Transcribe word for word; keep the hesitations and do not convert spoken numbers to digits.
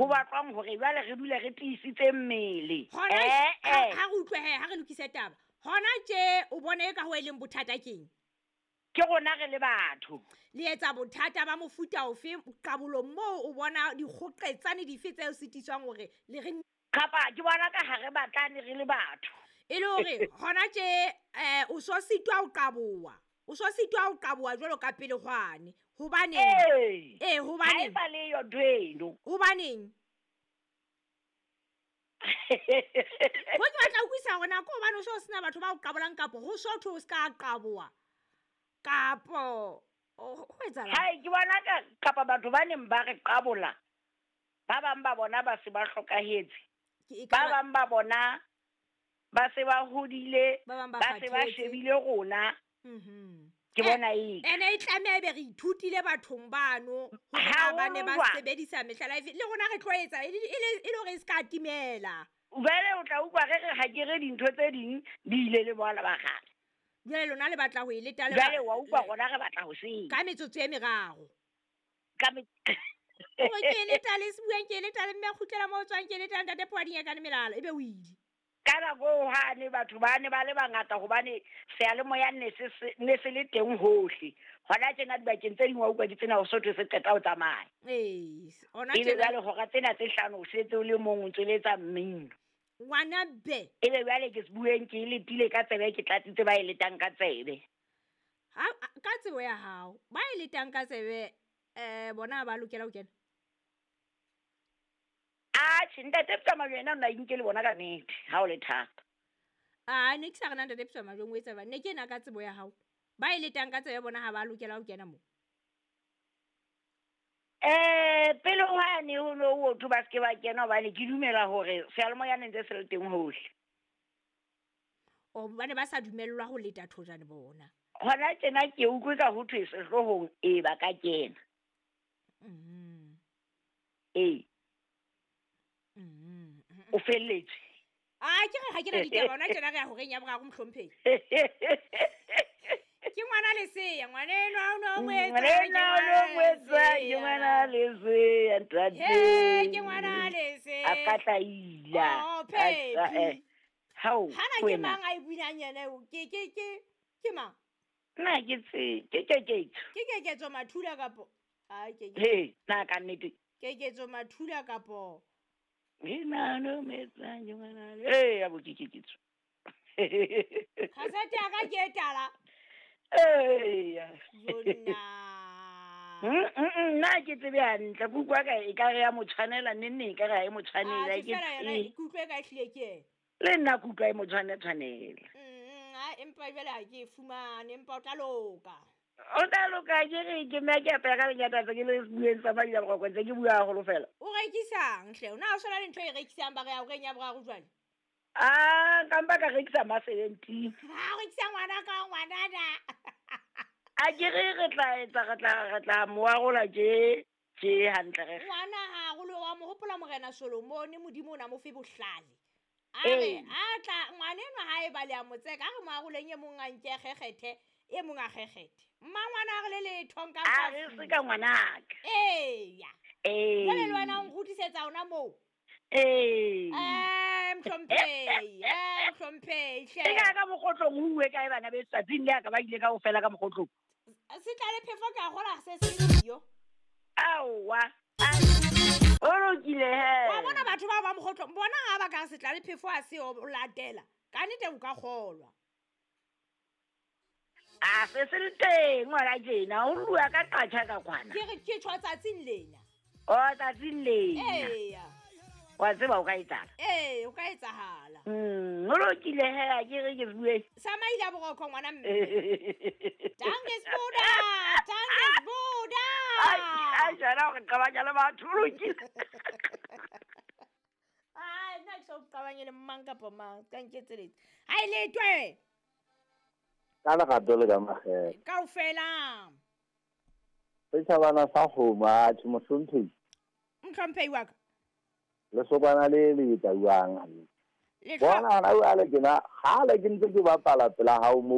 Ho batlwang hore jwale re dule re tiisitse mmele. Hona Eh, ha eh. ha re utlwe he, ha re lokise taba. Hona tje o bone e ka ho e leng bothata keng? Ke rona re le batho. Le etsa bothata ba mofuta ofe qabolong moo o bona dikgoqetsane dife tse o sitiswang hore le re Kapa ke bona ka ha re batlane re le batho. E le hore hona tje eh o so sitwa ho qaboha. O so sitwa ho qaboha jwalo ka pele hwane. Hobaneng? Ee. Eh, Ha e hobaneng? sa le yo ntho eno. Hobaneng? Ho ke batla ho utlwisisa hore na ke hobane o so sena batho ba o qabolang kapo ho so thwe o ska qaboha kapo ho etsahalang? Hai, ke bona ka kapa batho ba neng ba re qabola, ba bang ba bona ba se ba hlokahetse. Ke e Ba ka ba bang ba bona ba se ba hodile, Ba bang ba ba se ba kgathetse. shebile rona. Mhm. Ke Eh, bona eka. Ene e tlameha ebe re ithutile bathong bano hore na ba ne ba Haholo jwang. sebedisa mehlala efe. Le rona re tlo etsa e le, e le, e le hore e ska timela. Jwale o tla utlwa re re ha ke re dintho tse ding di ile le boala ba kgale. Jwale lona le batla ho e leta le ba- Jwale wa utlwa rona re batla ho senya. Ka metsotso e meraro. Ka me- Hore ke e leta le se bueng, ke e leta le mme a kgutlela moo o tswang, ke e leta ntate Poading ya kane melala, ebe o ile. Ka nako eo hane batho ba ne ba le bangata hobane seyalemoya ne se se, ne se le teng hohle. Hona tjena dibakeng tse ding wa utlwa ke tsena ho sotho se qeta ho tsamaya. Ee, hona Ebe tjena jwale hora tsena tse hlano o setse o le mong o ntso le etsa mmino. Ngwana be. Ebe jwale ke se bueng ke e letile ka tsebe, ke tlatsitse ba e letang ka tsebe. Ha, ka tsebo ya hao, ba e letang ka tsebe, eh, bona ba lokela ho kena? Atjhe, ntate Ptsamalo yena o na inke le bona ka nnete, ha o le thata. Ah, ne ke sa re na ntate Ptsamalo o etsa jwang, ne ke ena ka tsebo ya hao. Ba e letang ka tsebe bona ha ba lokela ho kena moo. Eh, pele hwane ho no ho thwe ba se ke ba kena hobane ke dumela hore seyalemoya ne ntse se le teng hohle. O ba ne ba sa dumellwa ho leta thojane bona. Hona tjena ke utlwe ka ho thwe sehloohong e ba ka kena. Mm. Ee. Mm. O felletse. Ah, ke re ha ke na ditaba hona tjena re ya horeng ya boraro mohlomphehi. Ke ngwana leseya, ngwana enwa o no mo etsa, Ngwana enwa o no mo etsa, ke ngwana leseya, ntate. He, ke ngwana leseya. A ka tla ila. Oh, A sa, Phephi. eh. Hao, Hana ke wena. mang a e buinang yena eo? Ke, ke, ke, ke mang? Nna ke tse, ke Keketso. Ke Keketso Mathula kapo? Ai, ke, ke. He, nna ka nnete. Keketso Mathula kapo? Ke ngwana mo etsa, ke ngwana le-, Eh, ya bo ke Keketso. Kasete ya ka ke e tala. Eya. Jonna. Mm, mm, mm, nna ke tsebe hantle, ke utlwa ka e ka re ya mo tshwanela, neng neng e ka re ha e mo tshwanela, Ah, ke ke fela yona, tsebe. ke utlwe ka ehlile ke yena. Le nna ke utlwa e mo tshwane tshwanela. Mm, mm, ha, empa jwale ha ke e fumane, empa o tla loka. O tla loka, ke re ke mme ke apaya ka lenyata tse ke le bueng tsa madi a boroko, ntse ke bua haholo fela. O rekisang hle? O na o sona le ntho e rekisang ba re ya horeng ya boraro jwale? Ah, ka mpa ka rekisa ma seventeen. Ha, o rekisa ngwana ka ngwanana. A ke re re tla etsa, re tla, re tla mo arola tje, tje hantle re. Ngwana ha arolwe, wa mo hopola Morena Solomone, Modimo o na mo fe bohlale. A re, Ee. a tla, ngwana enwa ha e ba le a mo tseka, a re mo aroleng e mong a nke a kgekgethe, e mong a kgekgethe. Mmangwana a re le letho nka A mpa re fuwa. se ka ngwanaka. Eya. Ee. Jwale le wena o nkgutlisetsa hona moo. Ee. Eh, mohlomphehi, eh, mohlomphehi, hle. E ka ka mokgotlong ho uwe kae bana beso, tsatsing le ya ka ba ile kaofela ka mokgotlong? Se tlale phefo ka kgola se se siyo. Aowa. O lokile he. Wa bona batho bao ba mokgotlong, bona ha ba ka se tlale phefo a se o latela. Ka nnete o ka kgolwa. A se se le teng ngwana tjena, o rua ka qatjha ka kwana. Ke re ke tjho tsatsing lena. O tsatsing lena. Eya. Wa tseba o ka etsahala. Ee, o ka etsahala. Mm, o lokile he, a ke re ke bue. Sa maile a boroko ngwana mme. Danke Sbuda, danke Sbuda. Ai, ai, jana hore qabanya le batho, o lokile. Ai, nna ke so qabanye le mang kapa mang, ka nketseletse. Ha e letwe. Ka lerato le ka makgethe. Kaofela. Setjhabana sa kgomo, atjhe, mohlomphehi. Mohlomphehi wa ka. Lesokwana le le etauwang hantle. Le Bona hona jwale ke na, kgale ke ntse ke bapala pela hao moo.